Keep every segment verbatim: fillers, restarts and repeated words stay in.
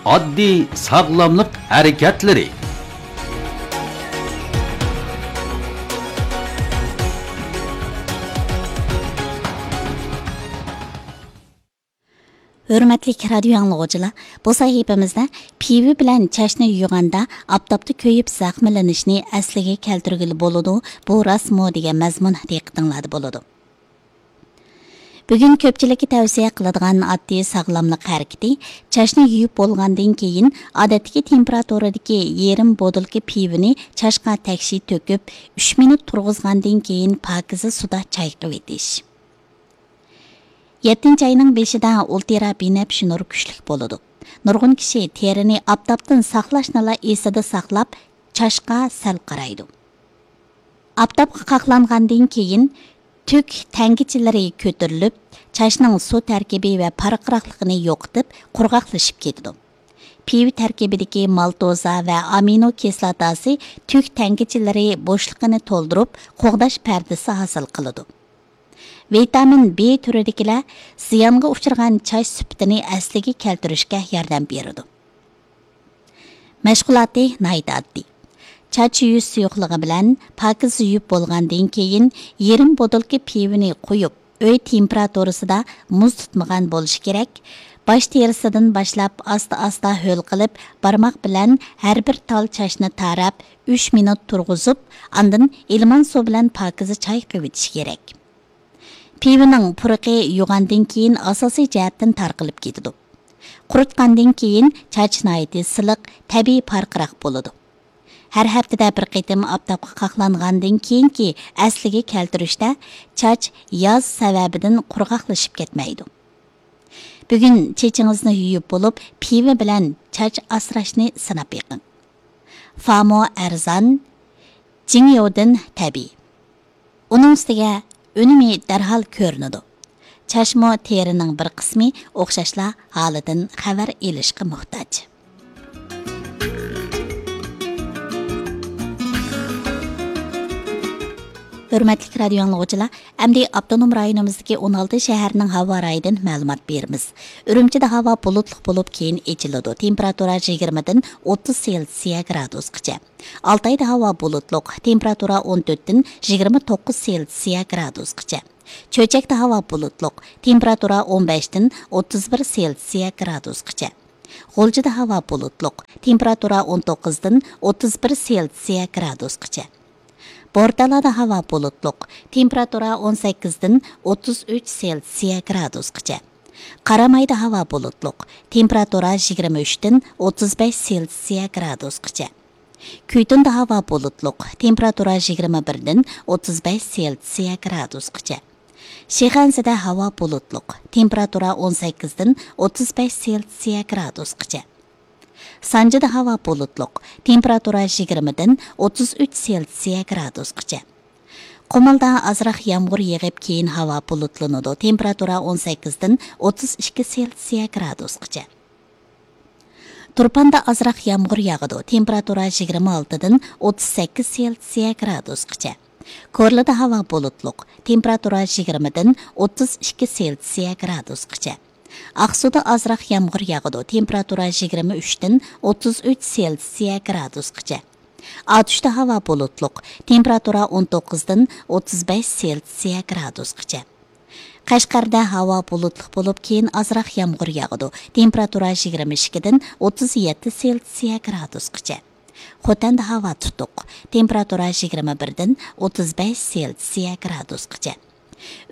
ئاددىي ساغلاملىق ھەرىكەتلىرى. ھۆرمەتلىك رادىيو ئاڭلىغۇچىلار، بۇ سەھىپىمىزدە پىۋا بىلەن چاچنى يۇيغاندا ئاپتاپتا كۆيۈپ زەخىملىنىشنى ئەسلىگە كەلتۈرگىلى بولىدۇ، بۇ راستمۇ دېگەن مەزمۇن دىققىتىڭلاردا بولىدۇ. بۈگۈن كۆپچىلىككە تەۋسىيە قىلىدىغان ئاددىي ساغلاملىق ھەرىكىتى، چاچنى يۇيۇپ بولغاندىن كېيىن، ئادەتتىكى تېمپېراتۇرىدىكى يېرىم بوتۇلكا پىۋىنى چاچقا تەكشى تۆكۈپ، ئۈچ مىنۇت تۇرغۇزغاندىن كېيىن، پاكىزە سۇدا چايقىۋېتىش. يەتتىنچى ئاينىڭ بېشىدا ئۇلترا بىنەپشە نۇر كۈچلۈك بولىدۇ. نۇرغۇن كىشى تېرىنى ئاپتاپتىن ساقلاشنىلا ئېسىدە ساقلاپ، چاچقا سەل قارايدۇ. ئاپتاپقا قاقلانغاندىن كېيىن، تۈك تەڭگىچىلىرى كۆتۈرۈلۈپ، چاچنىڭ سۇ تەركىبى ۋە پارقىراقلىقىنى يوقىتىپ، قۇرغاقلىشىپ كېتىدۇ. پىۋا تەركىبىدىكى مالتوزا ۋە ئامىنو كىسلاتاسى تۈك تەڭگىچىلىرى بوشلۇقىنى تولدۇرۇپ، قوغداش پەردىسى ھاسىل قىلىدۇ. ۋىتامىن بى تۈرىدىكىلەر زىيانغا ئۇچرىغان چاچ سۈپىتىنى ئەسلىگە كەلتۈرۈشكە ياردەم بېرىدۇ. مەشغۇلاتى ناھايىتى ئاددىي. چاچ يۇيۇش سۇيۇقلۇقى بىلەن پاكىز يۇيۇپ بولغاندىن كېيىن، يېرىم بوتۇلكا پىۋىنى قۇيۇپ، ئۆي تېمپېراتۇرىسىدا مۇز تۇتمىغان بولۇشى كېرەك. باش تېرىسىدىن باشلاپ ئاستا-ئاستا ھۆل قىلىپ، بارماق بىلەن ھەر بىر تال چاچنى تاراپ، ئۈچ مىنۇت تۇرغۇزۇپ، ئاندىن ئىلمان سۇ بىلەن پاكىزە چايقىۋېتىش كېرەك. پىۋىنىڭ پۇرىقى يۇغاندىن كېيىن ئاساسىي جەھەتتىن تارقىلىپ كېتىدۇ. قۇرۇتقاندىن كېيىن چاچ ناھايىتى سىلىق، تەبىئىي پارقىراق بولىدۇ. ھەر ھەپتىدە بىر قېتىم ئاپتاپقا قاقلانغاندىن كېيىنكى ئەسلىگە كەلتۈرۈشتە چاچ ياز سەۋەبىدىن قۇرغاقلىشىپ كەتمەيدۇ. بۈگۈن چېچىڭىزنى يۇيۇپ بولۇپ، پىۋا بىلەن چاچ ئاسراشنى سىناپ بېقىڭ. فامو ئەرزان، جىڭيودىن تەبىئىي. ئۇنىڭ ئۈستىگە ئۈنۈمى دەرھال كۆرۈنىدۇ. چاچمۇ تېرىنىڭ بىر قىسمى، ئوخشاشلا ھالىدىن خەۋەر ئېلىشقا موھتاج. ھۆرمەتلىك رادىيو ئاڭلىغۇچىلار، ئەمدى ئاپتونوم رايونىمىزدىكى ئون ئالتە شەھەرنىڭ ھاۋا رايىدىن مەلۇمات بېرىمىز. ئۈرۈمچىدە ھاۋا بۇلۇتلۇق بولۇپ، كېيىن ئېچىلىدۇ. تېمپېراتۇرا يىگىرمىدىن ئوتتۇز سېلسىيە گرادۇسقىچە. ئالتايدا ھاۋا بۇلۇتلۇق، تېمپېراتۇرا ئون تۆتتىن يىگىرمە توققۇز سېلسىيە گرادۇسقىچە. چۆچەكتە ھاۋا بۇلۇتلۇق، تېمپېراتۇرا ئون بەشتىن ئوتتۇز بىر سېلسىيە گرادۇسقىچە. غۇلجىدا ھاۋا بۇلۇتلۇق، تېمپېراتۇرا ئون توققۇزدىن ئوتتۇز بىر سېلسىيە گرادۇسقىچە. بورتالادا ھاۋا بۇلۇتلۇق، تېمپېراتۇرا ئون سەككىزدىن ئوتتۇز ئۈچ سېلسىيە گرادۇسقىچە. قارامايدا ھاۋا بۇلۇتلۇق، تېمپېراتۇرا يىگىرمە ئۈچتىن ئوتتۇز بەش سېلسىيە گرادۇسقىچە. كۈيتۇندا ھاۋا بۇلۇتلۇق، تېمپېراتۇرا يىگىرمە بىردىن ئوتتۇز بەش سېلسىيە گرادۇسقىچە. شىخەنزىدە ھاۋا بۇلۇتلۇق، تېمپېراتۇرا ئون سەككىزدىن ئوتتۇز بەش سېلسىيە گرادۇسقىچە. سانجىدا ھاۋا بۇلۇتلۇق، تېمپېراتۇرا يىگىرمىدىن ئوتتۇز ئۈچ سېلسىيە گرادۇسقىچە. قۇمۇلدا ئازراق يامغۇر يېغىپ، كېيىن ھاۋا بۇلۇتلىنىدۇ، تېمپېراتۇرا ئون سەككىزدىن ئوتتۇز ئىككى سېلسىيە گرادۇسقىچە. تۇرپاندا ئازراق يامغۇر ياغىدۇ، تېمپېراتۇرا يىگىرمە ئالتىدىن ئوتتۇز سەككىز سېلسىيە گرادۇسقىچە. كورلىدا ھاۋا بۇلۇتلۇق، تېمپېراتۇرا يىگىرمىدىن ئوتتۇز ئىككى سېلسىيە گرادۇسقىچە. ئاقسۇدا ئازراق يامغۇر ياغىدۇ، تېمپېراتۇرا يىگىرمە ئۈچتىن ئوتتۇز ئۈچ سېلسىيە گرادۇسقىچە. ئاتۇشتا ھاۋا بۇلۇتلۇق، تېمپېراتۇرا ئون توققۇزدىن ئوتتۇز بەش سېلسىيە گرادۇسقىچە. قەشقەردە ھاۋا بۇلۇتلۇق بولۇپ، كېيىن ئازراق يامغۇر ياغىدۇ، تېمپېراتۇرا يىگىرمە ئىككىدىن ئوتتۇز يەتتە سېلسىيە گرادۇسقىچە. خوتەندە ھاۋا تۇتۇق، تېمپېراتۇرا يىگىرمە بىردىن ئوتتۇز بەش سېلسىيە گرادۇسقىچە.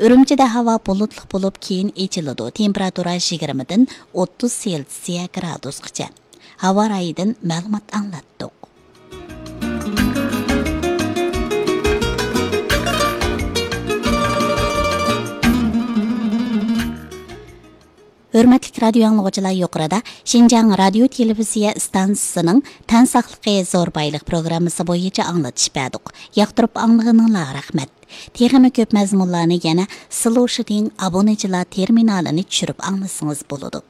ئۈرۈمچىدە ھاۋا بۇلۇتلۇق بولۇپ، كېيىن ئېچىلىدۇ، تېمپېراتۇرا يىگىرمىدىن ئوتتۇز سېلسىيە گرادۇسقىچە. ھاۋا رايىدىن مەلۇمات ئاڭلاتتۇق. ھۆرمەتلىك رادىيو ئاڭلىغۇچىلار، يۇقىرىدا شىنجاڭ رادىيو تېلېۋىزىيە ئىستانسىسىنىڭ تەن ساقلىقى زور بايلىق پروگراممىسى بويىچە ئاڭلىتىش بەردۇق. ياقتۇرۇپ ئاڭلىغىنىڭلارغا رەھمەت. تېخىمۇ كۆپ مەزمۇنلارنى يەنە سلوشىدىڭ ئابۇنىچىلار تېرمىنالىنى چۈشۈرۈپ ئاڭلىسىڭىز بولىدۇ.